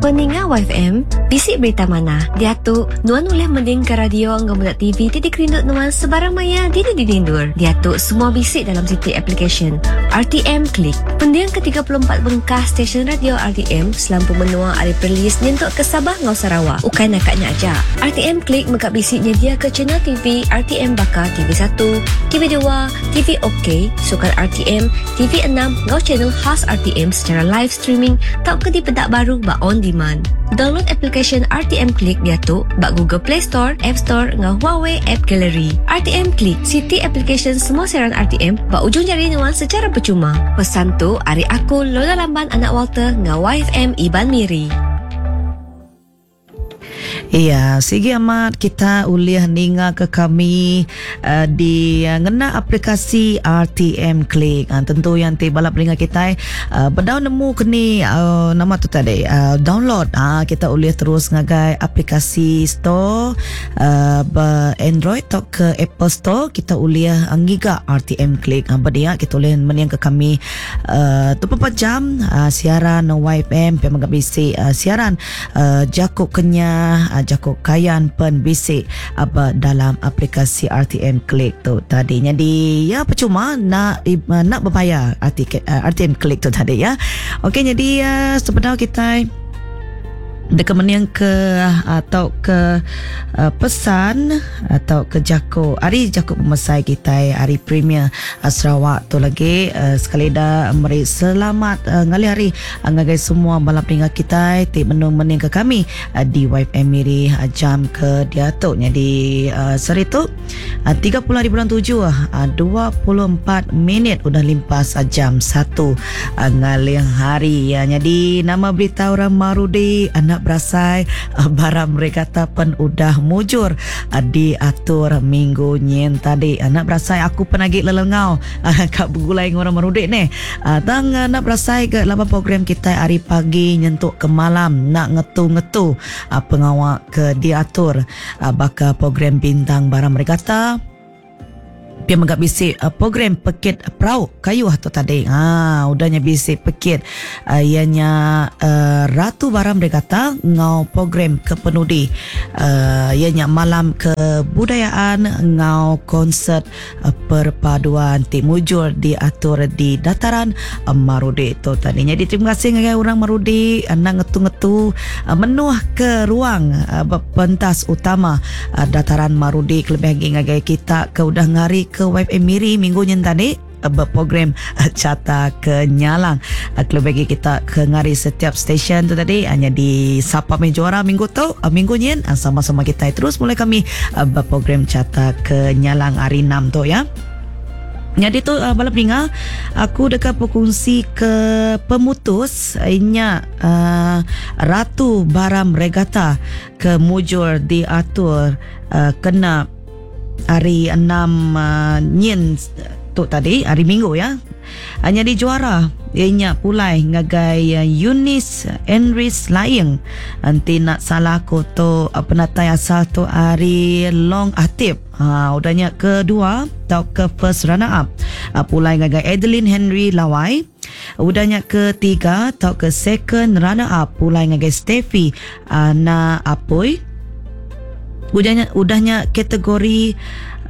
Peninga YFM, bisi berita manah. Diatu, nuan ulih mendingka radio enggau meda TV ti dikerindu nuan sebarang maya dini-dini endur. Diatu, semua bisi dalam siti aplikasyen RTM Click. Pendingka 34 bengkah stesen radio RTM selampur menua ari Perlis nyentuk ke Sabah enggau Sarawak. Ukai naka nya aja, RTM Click mega bisi nyediaka channel TV RTM baka TV satu, TV dua, TV OK, Sukan RTM, TV enam enggau channel khas RTM sechara live streaming tauka dipeda baru ba on demand. Download aplikasyen RTM Click diatu ba Google Play Store, App Store enggau Huawei App Gallery. RTM Click, siti aplikasyen semua siaran RTM ba ujung jari nuan sechara pechuma. Pesan tu ari aku Lola Lamban anak Walter enggau YFM Iban Miri. Iya, sigi amat kita ulih ninga ke kami uh, di uh, ngena aplikasi RTM Click. Uh, tentu yang ti bala peninga kitai uh, bedau nemu keni uh, nama tu tadi uh, download uh, kita ulih terus ngagai aplikasi store uh, ba Android atau ke Apple Store kita ulih uh, ngiga RTM Click. Uh, ba dia kita ulih mening ke kami uh, 24 jam uh, siaran YFM pia mega bisi uh, siaran Jaku Kenyah, jaku Kayan pen bisi ba dalam aplikasi RTM Click tu tadi. Nyadi ya percuma nak nak bebayar RTM Click tu tadi ya. Okey nyadi sebedau kitai deka mening ke atau ke pesan atau ke jaku ari jaku pemesai kitai ari Premier Sarawak tu lagi sekali da meri selamat ngalih hari Ngagai semua bala peninga kitai ti benung meningka kami di YFM Miri jam ke diatu nyadi sehari tu 30 hari bulan 7 24 minit udah limpas jam 1 ngaling hari. Nyadi nama berita orang Marudi anak berasai barang regatta pen udah mujur diatur minggu nyin tadi. Anak berasai aku pen agi lelengau ka begulai enggau orang Marudi neh. Tang enda berasai ga laban program kitai ari pagi nyentuk ke malam enda ngetu-ngetu pengawa ke diatur baka program Bintang Barang Regatta pia mega bisi program pekit perau kayuh tu tadi. Haa udah nya bisi pekit iya nya Ratu Barang Regatta enggau program kepenudi iya nya Malam Kebudayaan enggau Konsert Perpaduan ti mujur diatur di Dataran Marudi tu tadi. Nyadi terima kasih ngagai orang Marudi enda ngetu-ngetu menuh ke ruang ba pentas utama Dataran Marudi kelebih agi ngagai kita ke udah ngari ke YFM Miri minggu nyin tadi ba program Chata ke Nyalang. Kelebih agi kita ke ngari setiap stesen tu tadi nyadi sapa meh juara minggu tu minggu nyin sama-sama kitai terus mulai kami ba program Chata ke Nyalang hari enam tu ya. Nyadi tu bala peninga aku deka bekongsi ke pemutus inya uh, Ratu Baram Regatta ke mujur diatur uh, kena hari enam uh, nyin tu tadi hari minggu ya. Nyadi juara iya nya pulai ngagai Eunice Enris Laing. Enti enda salah aku tu penatai asal tu ari Long Atip. Ha udah nya kedua tauka first runner up pulai ngagai Adeline Henry Lawai. Udah nya ketiga tauka second runner up pulai ngagai Steffi Ana Apoi. Udah nya udah nya kategori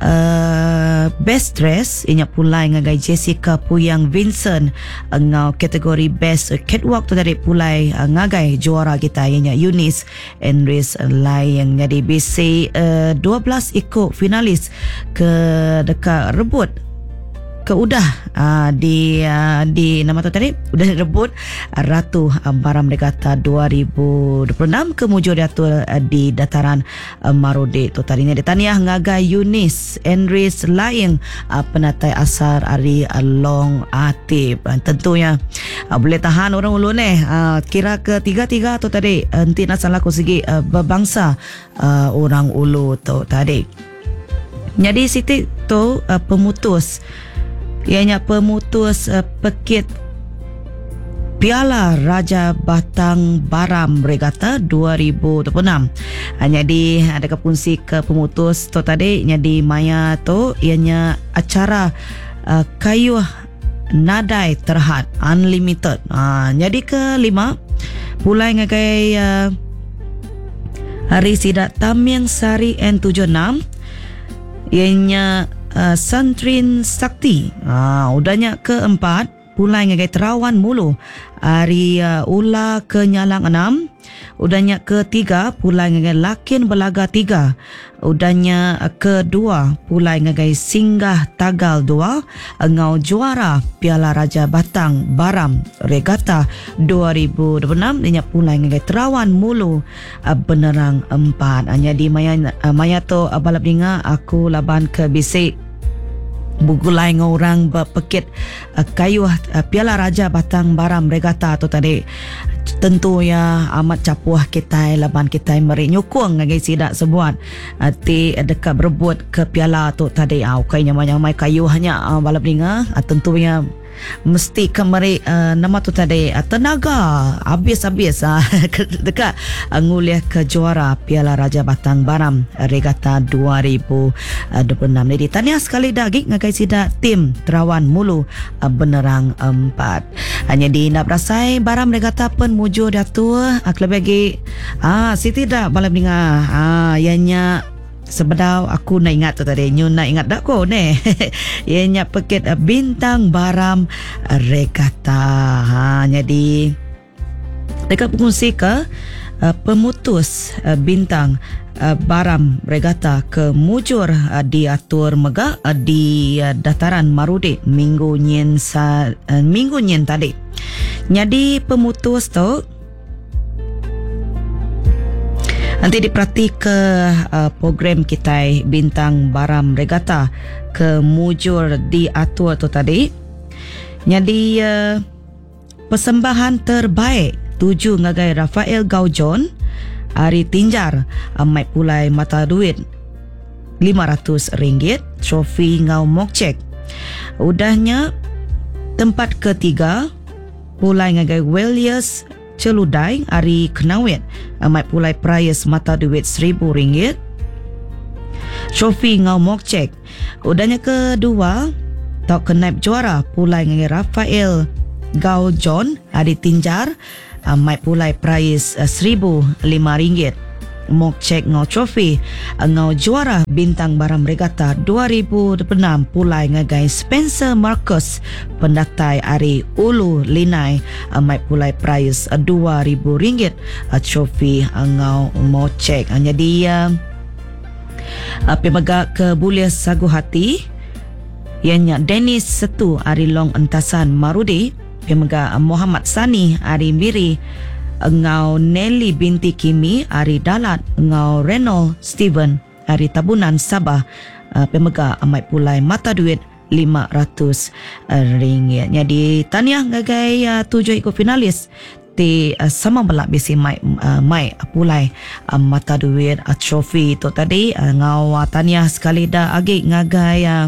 uh, best dress inya pulai ngagai Jessica Puyang Vincent enggau kategori best catwalk tu tadi pulai uh, ngagai juara kita inya Eunice Enris Lai yang nyadi bisi uh, 12 iku finalis ke deka rebut ke udah uh, di uh, di nama tu tadi udah direbut Ratu Baram Regatta 2026 ke mujur diatur di dataran Marudi tu tadi nya ditaniah ngagai Eunice Enris Laing penatai asal ari Long Atip. Tentunya boleh tahan orang ulu neh kira ke tiga-tiga tu tadi enti nak salah aku sigi berbangsa orang ulu tu tadi. Nyadi siti tu pemutus iya nya pemutus pekit Piala Raja Batang Baram Regatta 2026. Nyadi deka pungsi ke pemutus tu tadi nyadi maya tu iya nya acara kayuh nadai terhad unlimited. Nyadi ke lima. Pulai ngagai uh, hari sida Taming Sari N76 iya nya uh, Santrin Sakti. Ah, udah nya keempat pulai ngagai Terawan Mulu ari uh, Ula ke Nyalang 6. Udah nya ketiga pulai ngagai Lakin Belaga 3. Udah nya kedua pulai ngagai Singgah Tagal 2 enggau juara Piala Raja Batang Baram Regata 2026 nya pulai ngagai Terawan Mulu Benerang 4. Nyadi maya maya tu bala peninga aku laban ke bisi begulai enggau orang bepekit kayuh Piala Raja Batang Baram Regata tu tadi. Tentu iya amat chapuh kitai laban kitai meri nyukung ngagai sida sebuat ti deka berebut ke piala tu tadi. Ukai nyamai-nyamai kayuh nya bala peninga tentu iya mesti ke meri uh, nama tu tadi uh, tenaga habis-habis uh, deka uh, ngulih ke juara Piala Raja Batang Baram Regata 2026. Jadi tahniah sekali dah lagi ngagai sida tim Terawan Mulu uh, Benerang 4. Hanya di nak berasai Baram Regata pun mujur diatur uh, kelebih lagi ah Siti dah bala peninga ah ianya sebedau aku nak ingat tu tadi nyu nak ingat dak ko ne ianya pekit Bintang Baram Regata. Ha jadi dekat berkongsi ke pemutus Bintang Baram Regata ke mujur diatur mega di dataran Marudi minggu nyin minggu nyin tadi. Jadi pemutus tu enti diperati ke program kitai Bintang Baram Regata ke mujur diatur tu tadi. Nyadi persembahan terbaik tuju ngagai Rafael Gaujon ari Tinjar mai pulai mata duit RM500, trofi enggau mokcek. Udahnya tempat ketiga pulai ngagai Wellius Celudai ari Kenawit mai pulai perais mata duit RM1,000, trofi enggau mokcek. Udahnya kedua tau ke naib juara pulai ngagai Rafael Gau John ari Tinjar mai pulai perais RM1,005. Mokcek enggau trofi enggau juara Bintang Baram Regata 2026 pulai ngagai Spencer Marcus pendatai ari Ulu Linai mai pulai perais RM2,000, trofi enggau mokcek. Jadi api mega ke bulih sagu hati iya nya Dennis Setu ari Long Entasan Marudi, pia mega Muhammad Sani ari Miri enggau Nelly binti Kimi ari Dalat enggau Reynold Steven ari Tabunan Sabah, pia mega mai pulai mata duit RM500. Jadi tahniah ngagai 7 iku finalis ti sama bela bisi mai mai pulai mata duit trofi tu tadi enggau tahniah sekali dah agi ngagai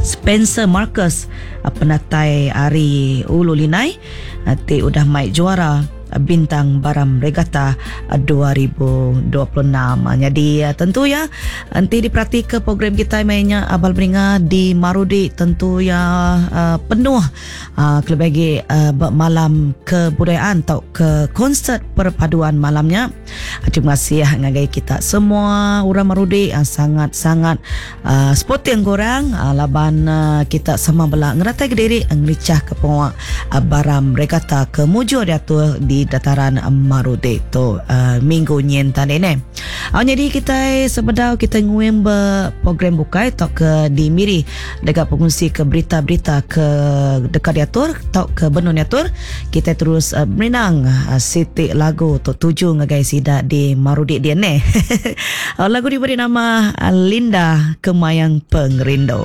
Spencer Marcus penatai ari Ulu Linai ti udah mai juara Bintang Baram Regata 2026. Jadi tentu ya enti diperhati ke program kita mainnya Abal Beringa di Marudi tentu ya penuh kelebih lagi malam kebudayaan atau ke konsert perpaduan malamnya. Terima kasih ngagai kita semua orang Marudi sangat-sangat sporting korang laban kita sama bela ngeratai ke diri ngericah ke penguak Baram Regata ke mujur diatur di dataran Marudi tu minggu nyin tadi ni. Jadi kita sebedau kita nguing be program bukai atau ke di Miri dekat pengungsi ke berita-berita ke dekat diatur atau ke benun diatur, kita terus merinang siti lagu tu tuju ngagai sida di Marudi dia ni. Lagu diberi nama Linda Kemayang Pengerindu.